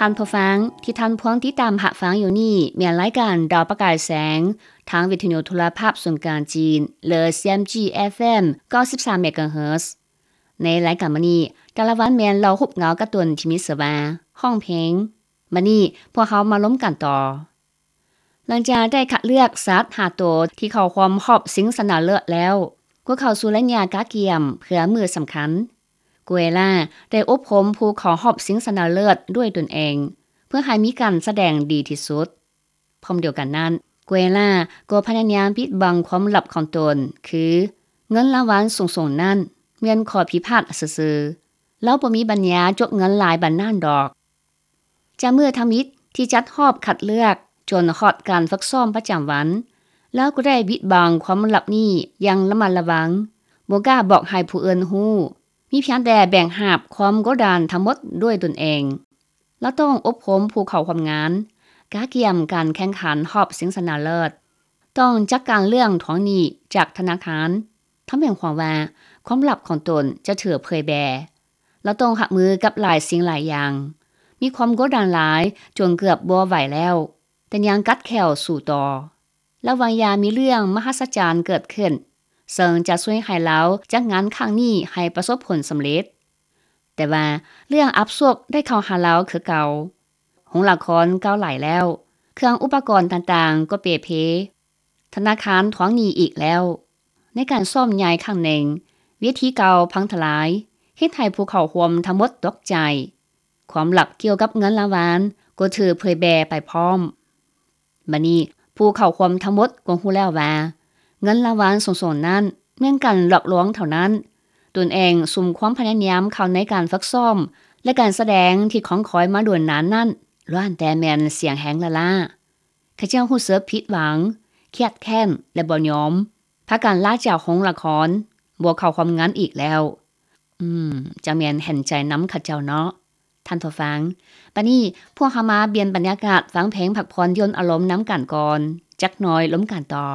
ທ່ານຜູ້ຟັງທີ່ທ່ານພວມຕິດຕາມຮັບຟັງຢູ່ນີ້ ແມ່ນລາຍການດາວປະກາຍແສງ ທາງວິທະຍຸໂທລະພາບສູນກາງຈີນ ຫຼື CMG FM ເກົ້າສິບສາມ MHz. ໃນລາຍການມື້ນີ້ ແຕ່ລະວັນແມ່ນເລົ່າຮູບເງົາກາຕູນທີ່ມີຊື່ວ່າ ຮ້ອງເພງ. ບັດນີ້ພວກເຮົາມາລົມກັນຕໍ່. ຫຼັງຈາກໄດ້ຄັດເລືອກສັດຫ້າໂຕທີ່ເຂົ້າຮ່ວມຮອບຊິງຊະນະເລີດແລ້ວ, ກໍເຂົ້າສູ່ໄລຍະກະກຽມເພື່ອມື້ສຳຄັນ. ໂກເອລາໄດ້ອົບຮົມຜູ້ເຂົ້າຮອບຊິງຊະນະເລີດດ້ວຍຕົນເອງ ເພື່ອໃຫ້ມີການສະແດງດີທີ່ສຸດ. ພ້ອມດຽວກັນນັ້ນ, ໂກເອລາກໍພະຍາຍາມປິດບັງຄວາມລັບຂອງຕົນ, ຄືເງິນລາງວັນສູງໆນັ້ນແມ່ນຂໍ້ຜິດພາດຊື່ໆ. ລາວບໍ່ມີປັນຍາຈົກເງິນຫຼາຍປານນັ້ນດອກ. ຈາກມື້ທຳອິດທີ່ຈັດຮອບຄັດເລືອກ ຈົນຮອດການຝຶກຊ້ອມປະຈຳວັນ, ລາວກໍໄດ້ບິດບັງຄວາມລັບນີ້ຢ່າງລະມັດລະວັງ, ບໍ່ກ້າບອກໃຫ້ຜູ້ອື່ນຮູ້, ມີພຽງແຕ່ແບກຫາບຄວາມກົດດັນທັງໝົດດ້ວຍຕົນເອງ. ລາວຕ້ອງອົບຮົມຜູ້ເຂົ້າຮ່ວມງານ, ກະກຽມການແຂ່ງຂັນຮອບຊິງຊະນະເລີດ, ຕ້ອງຈັດການເລື່ອງທວງໜີ້ຈາກທະນາຄານ, ທຳໃຫ້ຮູ້ວ່າຄວາມລັບຂອງຕົນຈະຖືກເຜີຍແຜ່. ລາວຕ້ອງຮັບມືກັບຫຼາຍສິ່ງຫຼາຍຢ່າງ, ມີຄວາມກົດດັນຫຼາຍຈົນເກືອບບໍ່ໄຫວແລ້ວ, ແຕ່ຍັງກັດແຂ້ວສູ້ຕໍ່. ລະຫວ່າງຢ່າມີເລື່ອງມະຫັດສະຈັນເກີດຂຶ້ນ, ເຊິ່ງຈະຊ່ວຍໃຫ້ລາວຈັດງານຄັ້ງນີ້ໃຫ້ປະສົບຜົນສຳເລັດ. ແຕ່ວ່າເລື່ອງອັບສວກໄດ້ເຂົ້າຫາລາວຄືເກົ່າ. ໂຮງລະຄອນເກົ່າຫຼາຍແລ້ວ, ເຄື່ອງອຸປະກອນຕ່າງໆກໍເປ່ເພ. ທະນາຄານທວງໜີ້ອີກແລ້ວ. ໃນການຊ້ອມໃຫຍ່ຄັ້ງໜຶ່ງ, ເວທີເກົ່າພັງທະລາຍ, ເຮັດໃຫ້ຜູ້ເຂົ້າຮ່ວມທັງໝົດຕົກໃຈ. ຄວາມລັບກ່ຽວກັບເງິນລາງວັນກໍຖືກເຜີຍແຜ່ໄປພ້ອມ. ບັດນີ້ຜູ້ເຂົ້າຮ່ວມທັງໝົດກໍຮູ້ແລ້ວວ່າ ເງິນລາງວັນສູງໆນັ້ນແມ່ນການຫຼອກລວງເທົ່ານັ້ນ. ຕົນເອງສຸມຄວາມພະຍາຍາມເຂົ້າໃນການຝຶກຊ້ອມ ແລະ ການສະແດງທີ່ຄອງຄອຍມາດົນນານນັ້ນ ລ້ວນແຕ່ແມ່ນສຽງແຮງລ້າໆ. ເຂົາເຈົ້າຮູ້ສຶກຜິດຫວັງ, ຄຽດແຄ້ນ ແລະ ບໍ່ຍອມ, ພາກັນລາຈາກໂຮງລະຄອນ, ບໍ່ເຂົ້າຮ່ວມງານອີກແລ້ວ. ອືມ, ຈັ່ງແມ່ນເຫັນໃຈນຳເຂົາເຈົ້າເນາະ. ທ່ານຜູ້ຟັງ, ບັດນີ້ພວກເຮົາມາປ່ຽນບັນຍາກາດຟັງເພງພັກຜ່ອນຢ່ອນອາລົມນຳກັນກ່ອນ, ຈັກໜ່ອຍລົມກັນຕໍ່.